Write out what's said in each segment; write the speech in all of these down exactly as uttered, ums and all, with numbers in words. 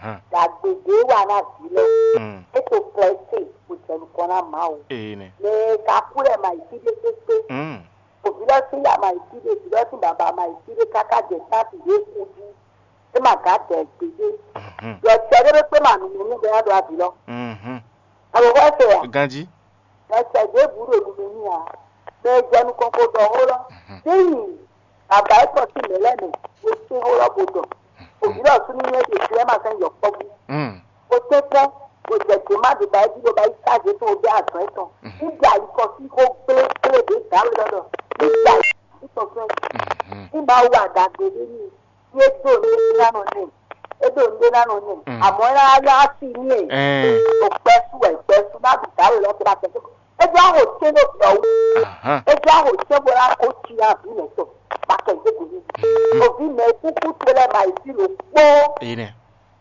Ɖagbe ɖě wa ná vǐ lɔ, é to klɛ́ se bó jɛ nukɔn ná Mawu. Ene. Mɛ ka kú lɛ ma yi fí ɖé kpékpé. Mm. Òbí lɔ sín ya ma yi fí ɖé, vǐ lɔ sín baba ma yi fí ɖé káká jɛ tábì ɖé kú jí. É ma gǎ dɛ gbégbé. Mhm. Ɖɔ cɛ ɖé kpé ma nǔ nú bɛ ná ɖo avǐ lɔ. Mhm. Alo wɛ se ya. Ganji. Mɛ sɛ ɖěbǔ ɖo nunu n'i ǎ. Mɛ e jɛ nukɔn ko ɖɔ xó lɔ, ní nyi bǎbá é tɔ́ sín mɛ̌ lɛ́ɛ mɛ, bó sín xó lɔ bó ɖɔ. Òbí lɔ súnú nyɛ ɖe jlɛ́ ma sɛn yɔkpɔ́vú. Bó tɛ́nkpɔ́n, bó jɛ gběma ɖě ba é jí bó ba yí sáze tɔn bó bɛ́ azɔ̌ étɔn. Ní ɖe alikɔ sín xó gblégblé ɖě dǎwe lɔ ɖɔ. Ní ɖe alikɔ sín tɔn fɛ́. Ní ba wa ɖagbe ɖé n'i. Ye do ne ná nɔ nɛ. E do ne ná nɔ nɛ. Àmọ́ ẹ ná yá sí ní ẹ̀. Ò gbɛsú ẹ̀ gbɛsú má bì dá lè lọ́tọ́ bá tẹ̀. E jẹ́ àwò tẹ́ ló bì ọ́ wú. E jẹ́ àwò tẹ́ bó lá kó tsi yá bí mẹ́ tọ̀. Bá tẹ̀ gbé gbé. Òbí mẹ́ kúkú tó lẹ́ bá yìí sí ló kpó. Ene.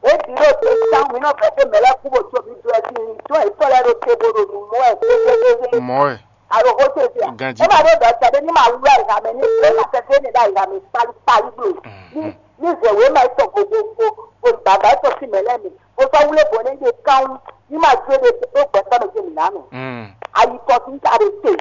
E bì ló dé sáwọn mi náà fẹ́ pé mẹ́lẹ́ kú bò tó mi dúró sí ní tó ẹ̀ tọ́ lẹ́ ló tẹ́ bó ló nù mọ́ ẹ̀ tó tó tó tó. Mɔ ɛ. Alo xó tó fi a. Ganji. E ma ɖo dɔ tɛ ɖe ní ma wlɔ yi hame ní e ma tɛ fɛ ne ɖa yi hame kpali kpali blo. Ní ní zɛ wé ma tɔ gogogo o baba tɔ si mɛ lɛ mi o sɔ wlé bo ne ɖe kan ní ma jó ɖe o gbɛ tɔ mɛ jɛ mi na mɛ. Ayi kɔ tún ta ɖe te.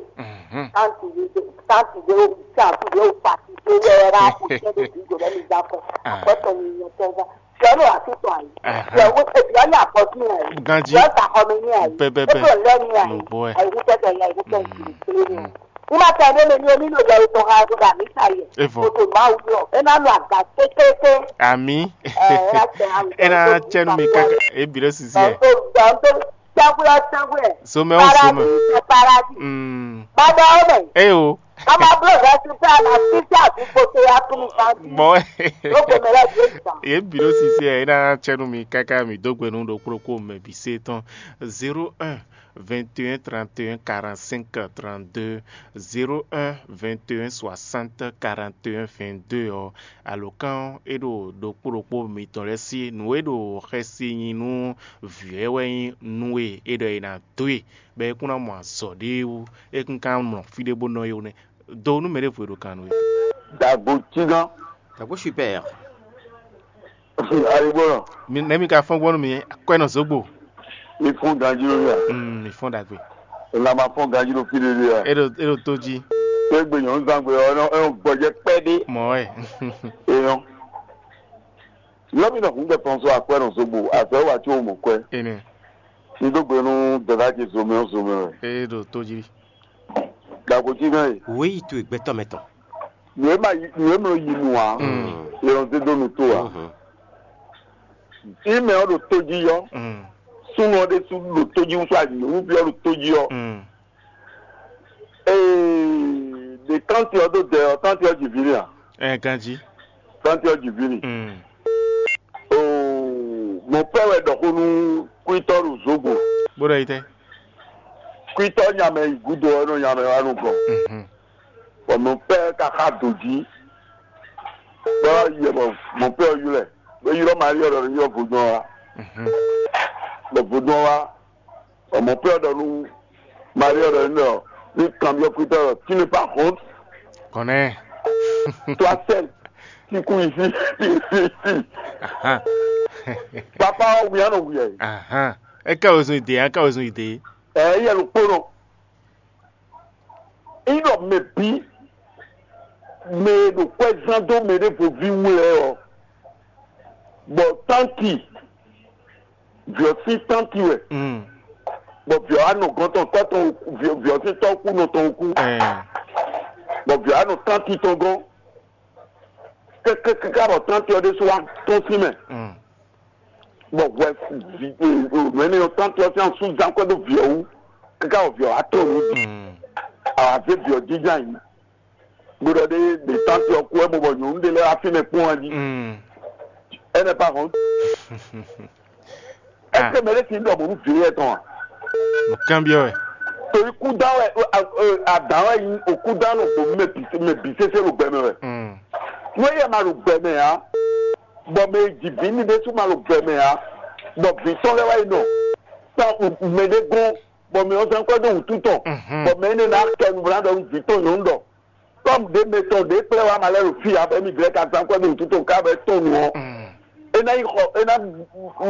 Tanti ɖe tanti ɖe o tanti ɖe o pati ɖe yɛ ra o tɛ ɖe bi jɔ lɛ mi da kɔ akɔtɔ mi nyɔ tɛ va. Sɛnɛ wà sí tɔn ayi. Sɛ wo ebi ɔni akɔtun ayi. Ganji. Sɛ ta xɔmi ni ayi. Pɛpɛpɛ. Ebi ɔlɛ ni ayi. Mo bɔ ɛ. Ayi wúkɛ tɛ ya ibi tɛ nkiri kiri ni. Kuma tɛ ne mi ni omi no yɛ itɔ ha ko da mi sa yɛ. Evo. Koto ma wu yɔ. E na lo aga kékéké. Ami. Ɛ e na tɛ awu. E na tɛ nu mi kaka. E bi ɖe sisi ɛ. Dɔnto dɔnto tɛnkulɛ tɛnkulɛ. Somɛ o somɛ. Paradis paradis. Mm. Baba o mɛ. E o. Ama blo vɛsi fɛ ama sisi avi kpoto ya kunu santi. Mɔ. Lóko mɛ lɛ dé sa. Ye bi ɖo sisi ɛ, e na tsɛ nú mi káká mi dó gbe nú ɖokpó ɖokpó mɛ bǐ se tɔn. Zéro un, vingt et un, trente et un, quarante-cinq, trente-deux, zéro un, vingt et un, soixante, quarante et un, vingt-deux ɔ́, alǒkan ɔ́, é ɖo ɖokpó ɖokpó mitɔn lɛ́ɛ sí. Nǔ e ɖo xɛsi nyi nú vǐ lɛ́ɛ wɛ nyí nú e é ɖɔ è nǎ dó e, bɔ é kún ná mɔ azɔ̌ ɖé wú, é kún ka mlɔ fí ɖé bó nɔ é wú nɛ́. Do nú mɛ ɖěvo e ɖo kan nú we. Dagbo cígán. Dagbo super. Ayigbɔnɔ. Mi nɛ mi ka fɔn gbɔn nú mi, akwɛ nɔ zogbo. Mi fún ganjí lórí a? Mm, mi fɔn dagbe. Ìlànà fún ganjí ló fi lélẹ̀ a? E ɖo e ɖo tó jí. Pé gbé nyɔ̌nu zangbe ɔ ɛ nɔ gbɔjɛ pɛ́ dé. Mɔ wɛ. Eyɔn. Yɔ mi nɔ hun gbɛ fɔn so akwɛ nɔ zogbo azɔ wa tí o mɔ kwɛ. Ene. N dó gbe nú dɔ̌dá ce zomɛ ɔ́ zomɛ wɛ. E ɖo tó jí. Dagbo cígán e. Wěyi towe gbɛtɔ́ mɛ tɔn. Nǔ e ma yi nǔ e mlɔ yi nu ǎ, yɛlɔn zé dó nu tó ǎ. Ime ɔ́ ɖo tó jí ɔ́, súnnu ɔ́ ɖésú ɖo tó jí wútu anyǔnúví ɔ́ ɖo tó jí ɔ́. Ee, ɖe tánti ɔ́ dó dɛ ɔ́, tánti ɔ́ ji vǐ n'i a? Ɛ ganjí. Tánti ɔ́ ji vǐ n'i. Oo, mɔ̌ pɛ́ wɛ ɖɔ xó nú kwítɔ́ ɖo zǒgbó. Bó ɖɔ yi tɛ́? Kwítɔ́ nya mɛ yi gúdo ɔ́ nɔ nya mɛ wá nukɔn. Bɔ mɔ̌ pɛ́ ka xá dǒ jí. Bɔ yɛ bɔ mɔ̌ pɛ́ ɔ́ ylɔ́ ɛ. Bó ylɔ́ Maríɔ ɖɔ ní ylɔ́ vodún ɔ́ wá. Bɔ vodún ɔ́ wá. Bɔ mɔ̌ pɛ́ ɔ́ ɖɔ nú Maríɔ ɖɔ ní ɖɔ ní kanbyɔ́ kwítɔ́ ɖɔ tínú pa hɔn. Kɔnɛ́. Toi seul qui court ici. Papa ɔ́ wia nɔ wia yi. Ahan. É ká wezun ide, é ká wezun ide. Ɛ yɛ ló kpónɔ. Ínɔ mɛ bí mɛ e ɖo kwɛ́ zán dó mɛ ɖěvo ví wú lɛ́ɛ ɔ́, bɔ tánti vǐ ɔ́ sín tánti wɛ, bɔ vǐ ɔ́ wá nɔ gɔ́n tɔn tɔ́ tɔn vǐ ɔ́ sín tɔ́ kú nɔ tɔn kú, bɔ vǐ ɔ́ wá nɔ tánti tɔn gɔ́n. Kɛkɛkɛkɛ bɔ tánti ɔ́ ɖésú wá tɔ́n sín mɛ, bɔ hwɛ nǔ énɛ́ ɔ́ tánti ɔ́ sín asú zán kwɛ́ dó vǐ ɔ́ wú, kɛkɛ bɔ vǐ ɔ́ wá tɔ́n nǔ jí, awǎ zé vǐ ɔ́ jínjɔ́n ayǐ. Bó ɖɔ ɖé ɖe tánti ɔ́ kú wɛ mɔ bɔ nyɔ̌nu ɖé lɛ́ɛ wá fínɛ́ kpɔ́n wɛ jí. Ɛnɛ pa hɔn. Ɛsɛ mɛ ɖé sin ɖɔ mɔ̌ nú vǐ lɛ́ɛ tɔn a? Nǔkanbyɔ́ wɛ. Torí kúdán wɛ adǎn wɛ nyí òkúdán nɔ gbǒ mɛ bǐ sésé ɖo gbɛ mɛ wɛ. Nú éyɛ́ ma ɖo gbɛ mɛ ǎ, bɔ mɛ e ji vǐ ní ɖésú ma ɖo gbɛ mɛ ǎ, bɔ vǐ tɔn lɛ́ɛ wá yi nɔ tán mɛ ɖé gɔ́n, bɔ mɛ ɔ́ zán kwɛ́ dó wǔtu tɔn, bɔ mɛ énɛ́ ná kɛ nǔbláɖɔ nú vǐ tɔn nyɔ̌nu ɖɔ tɔ́ ɖě mɛ tɔn ɖě kplé wá ma lɛ́ ɖo fí ǎ, bɔ émí vlɛ́ ka zán kwɛ́ dó wǔtu tɔn ká bɔ é tɔn nǔ ɔ́, é ná yi xɔ é ná